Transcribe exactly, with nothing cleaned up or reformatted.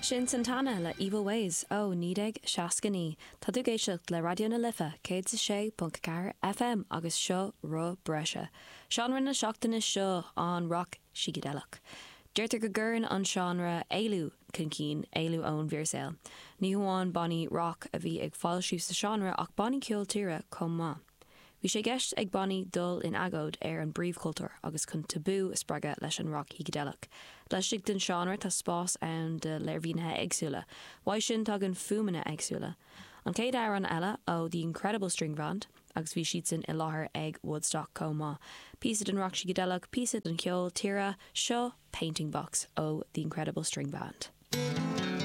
Sin Santana le Evil Ways ó naoi déag seasca naoi Tá tú ag éisteacht le Raidió na Life céad a sé ponc ceathair FM agus seo Roth Breise. Seánra na seachtaine seo an rock sícideileach. Deirtear go gcuireann an seánra éalú chun cinn éalú ón bhfíorshaol. Ní hamháin bannaí rock a bhí ag foilsiú sa seánra ach bannaí ceol tíre chomh maith. Bhí sé i gceist ag bannaí dul in agóid ar an bpríomhchultúr agus chun tabú a spreagadh leis an rock shícideileach. Laistigh den seánra tá spás ann do léirmhínithe éagsúla, Uaidh sin tagann fuaimeanna éagsúla. An chéad amhrán eile ó The Incredible String Band, agus bhí siadsan i láthair ag Woodstock chomh maith. Píosa den rock sícideileach, píosa den cheol tíre seo Painting Box ó The Incredible String Band.